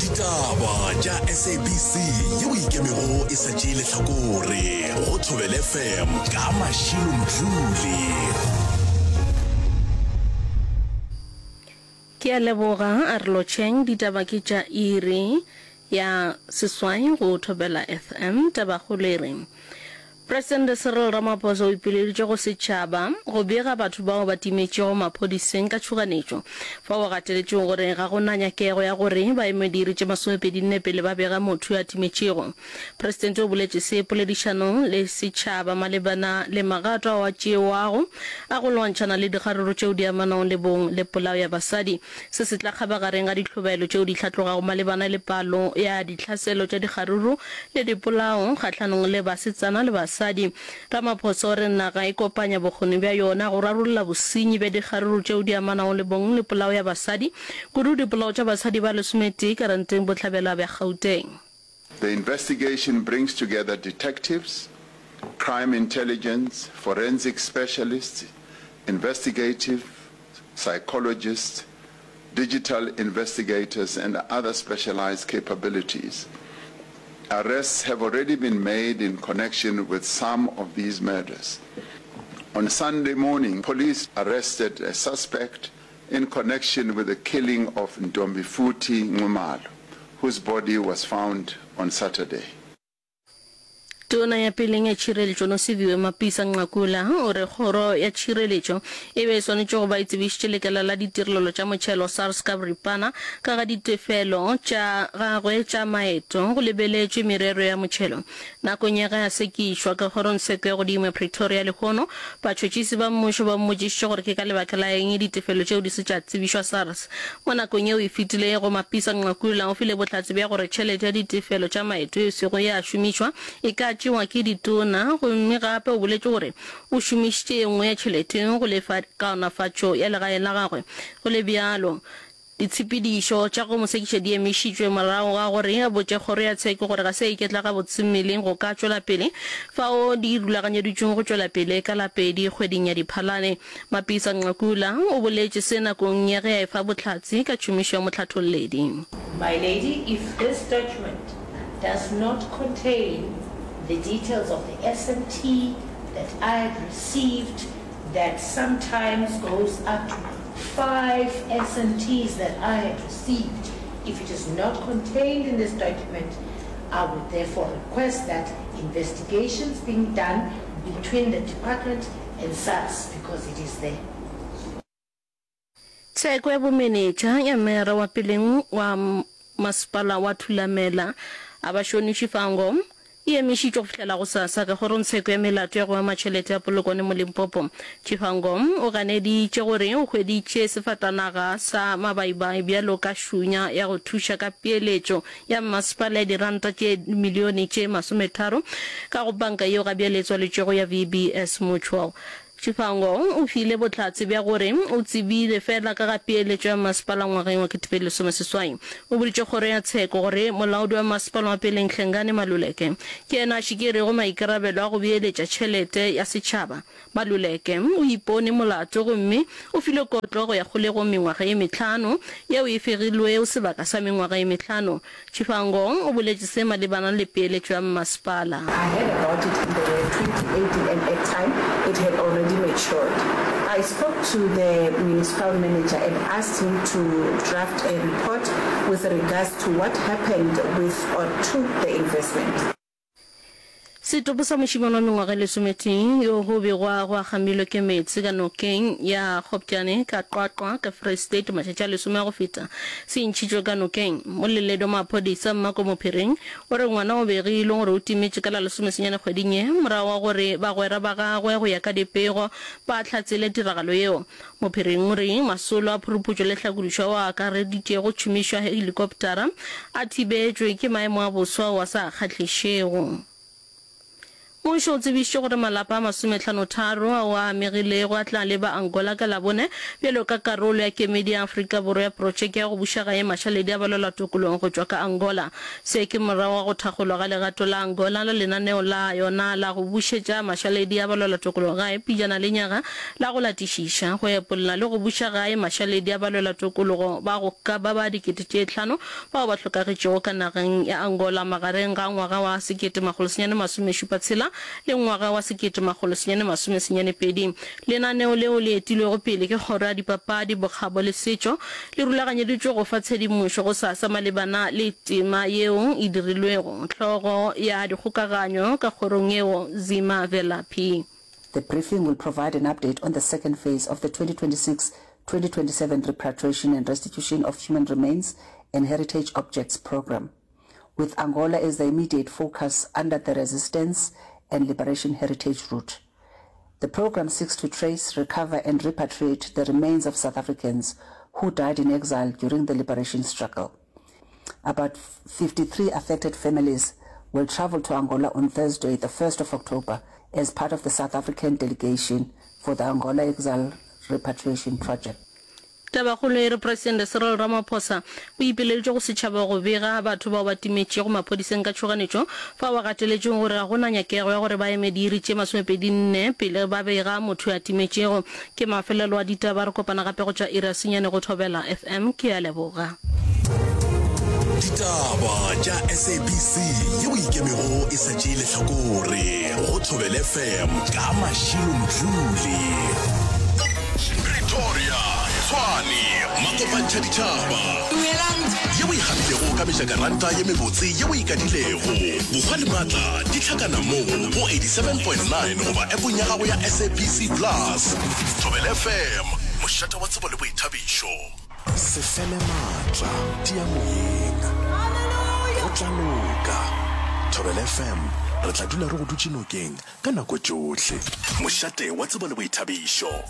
Ditaba tša SABC yeo e ikemego e sa tšee lehlakore go Thobela FM ka Mashilo Mdluli. Ke a leboga, a re lotšheng. Ditaba ke tša iri ya seswai go Thobela FM. Tabakgolo e re, Presidente Cyril Ramaphosa o ipileditše go setšhaba go bega batho bao ba timetšego maphodiseng ka tšhoganetšo, fao a gateletšego gore ga go na nyakego ya gore ba eme diiri tše masomepedinne pele ba bega motho yo a timetšego. Presidente o boletše se poledišanong le setšhaba malebana le magato ao a tšewago a go lwantšhana le dikgaruru tšeo di amanago le bong le polao ya basadi. Se se tla kgabagareng ga dihlobaelo tšeo di hlatlogago malebana le palo ya ditlhaselo tša dikgaruru le dipolao kgahlanong le basetsana le basadi. Ramaphosa o re naga e kopanya bokgoni bja yona go rarolla bosenyi bja dikgaruru tšeo di amanago le bong le polao ya basadi, kudu dipolao tša basadi ba lesometee ka ranteng bohlabela bja Gauteng. The investigation brings together detectives, crime intelligence, forensic specialists, investigative psychologists, digital investigators and other specialized capabilities. Arrests have already been made in connection with some of these murders. On Sunday morning, police arrested a suspect in connection with the killing of Ntombifuthi Nxumalo, whose body was found on Saturday. Tona ya peleng ya Tšhireletšo Nosiviwe Mapisa Nqakula o re kgoro ya tšhireletšo e be e swanetše go ba e tsebišitše lekala la ditirelelo tša motšhelo SARS ka boripana ka ga ditefelo tša gagwe tša maeto go lebeletšwe merero ya motšhelo. Nakong ya ge a sekišwa ka kgorongtsheko ya godimo ya Pretoria lehono, batšhotšhisi ba mmušo ba mmotšišitše gore ke ka lebaka la eng ditefelo tšeo di se tša tsebišwa SARS. Mo nakong yeo e fetilego, Mapisa Nqakula o file bohlatse bja gore tšhelete ya ditefelo tša maeto e sego ya šomišwa e ka tšewa ke ditona gomme gape o boletše gore o šomišitše ye nngwe ya tšhelete go lefa kaonafatšo ya legae la gagwe. Go le bjalo, Ditshepedišo tša go mo sekiša di emišitšwe morago ga gore a botše kgoro ya tsheko gore ga se a iketla gabotse mmeleng go ka tšwela pele fao di rulaganyeditšweng go tšwela pele ka la pedi kgweding ya Diphalane. Mapisa Nqakula o boletše se nakong ya ge a efa bohlatse ka tšhomišo ya mohlatholledi. My Lady, if this document does not contain the details of the SMT that I had received that sometimes goes up to five SMTs that I had received, if it is not contained in this document, I would therefore request that investigations being done between the department and SARS because it is there. Tsheko ya bomenetša ya meyara wa peleng wa masepala wa Thulamela, Abashoni Tshifhango, e emišitšwe go fihlela gosasa ka kgorongtsheko ya melato ya go ama tšhelete ya Polokwane mo Limpopo. Tshifhango o ganeditše gore o hweditše sefatanaga sa mabaibai bjalo ka šunya ya go thuša ka peeletšo ya mmasepala ya diranta tše dimilione tše masometharo ka go panka yeo gabjale e tswaletšwego ya VBS Mutual. Tshifhango o file bohlatse bja gore o tsebile feela ka ga peeletšo ya mmasepala ngwageng wa 2018. O boditše kgoro ya tsheko gore molaodi wa mmasepala wa peleng Hlengani Maluleke ke yena a šikerego maikarabelo a go beeletša tšhelete ya setšhaba. Maluleke o ipone molato gomme o filwe kotlo go ya kgolegong mengwaga ye mehlano yeo e fegilwego sebaka sa mengwaga ye mehlano. Tshifhango o boletše se malebana le peeletšo ya mmasepala. I heard about it in the year 2018 and at time it had already matured. I spoke to the municipal manager and asked him to draft a report with regards to what happened with or to the investment. Setopo sa mošemane wa mengwaga e lesometee yo go begwago a kgamilwe ke meetse ka nokeng ya Kgopjane ka Qwaqwa ka Free State matšatši a lesome a go feta se ntšhitšwe ka nokeng. Moleledi wa maphodisa Mmako Mophiring o re ngwana o begilwe gore o timetše ka la lesomesenyane kgweding ye morago ga gore bagwera ba gagwe go ya ka dipego ba hlatsele tiragalo yeo. Mophiring o re masolo a phuruputšo le hlakodišo ao a akareditšego tšhomišo ya helikoptara a thibetšwe ke maemo a boso ao a sa kgahlišego. Mmušo o tsebišitše gore malapa a masometlhanotharo ao a amegilego a tla leba Angola ka Labone bjalo ka karolo ya kemedi ya Afrika Borwa ya protšeke ya go buša gae mašaledi a balwelatokolong go tšwa ka Angola. Se ke morago ga go thakgolwa ga legato la Angola la lenaneo la yona la go bušetša mašaledi a balwelatokolong gae pejana lenyaga la go latišiša, go epolla le go buša gae mašaledi a balwelatokologo ba go ka ba ba 5000 bao ba hlokagetšego ka nageng ya Angola magareng ga ngwaga wa 1976 le ngwaga wa 1982. Lenaneo leo le etilwego pele ke Kgoro ya Dipapadi, Bokgabo le Setšo le rulaganyeditšwe go fa tshedimošo gosasa malebana le tema yeo e dirilwego. Hlogo ya dikgokaganyo ka kgorong yeo, Zima Velaphi. The briefing will provide an update on the second phase of the 2026-2027 Repatriation and Restitution of Human Remains and Heritage Objects Programme, with Angola as the immediate focus under the Resistance and Liberation Heritage Route. The programme seeks to trace, recover and repatriate the remains of South Africans who died in exile during the liberation struggle. About 53 affected families will travel to Angola on Thursday, the 1st of October, as part of the South African delegation for the Angola Exile Repatriation Project. Tabakgolo e re Presidente Cyril Ramaphosa o ipileditše go setšhaba go bega batho bao ba timetšego maphodiseng ka tšhoganetšo fao a gateletšego gore ga go na nyakego ya gore ba eme diiri tše masomepedinne pele ba bega motho yo a timetšego. Ke mafelelo a ditaba, re kopana gape go tšwa iri ya senyane go Thobela FM. Ke a leboga. Ditaba tša SABC yeo e ikemego e sa tšee lehlakore go Thobela FM ka Mashilo Mdluli. Pretoria, Tshwane, Makopantšha ditšhaba. Yeo e gapilego ka mejakaranta ye mebotse yeo e kadilego. Bohwa le maatla di hlakana mo go 87.9 goba appong ya gago ya SABC Plus. Thobela FM, mošate wa tsebo le boithabišo. Se fele maatla, tia moyeng. Go tla loka. Thobela FM, re tla dula re go dutše nokeng ka nako tšohle. Mošate wa tsebo le boithabišo.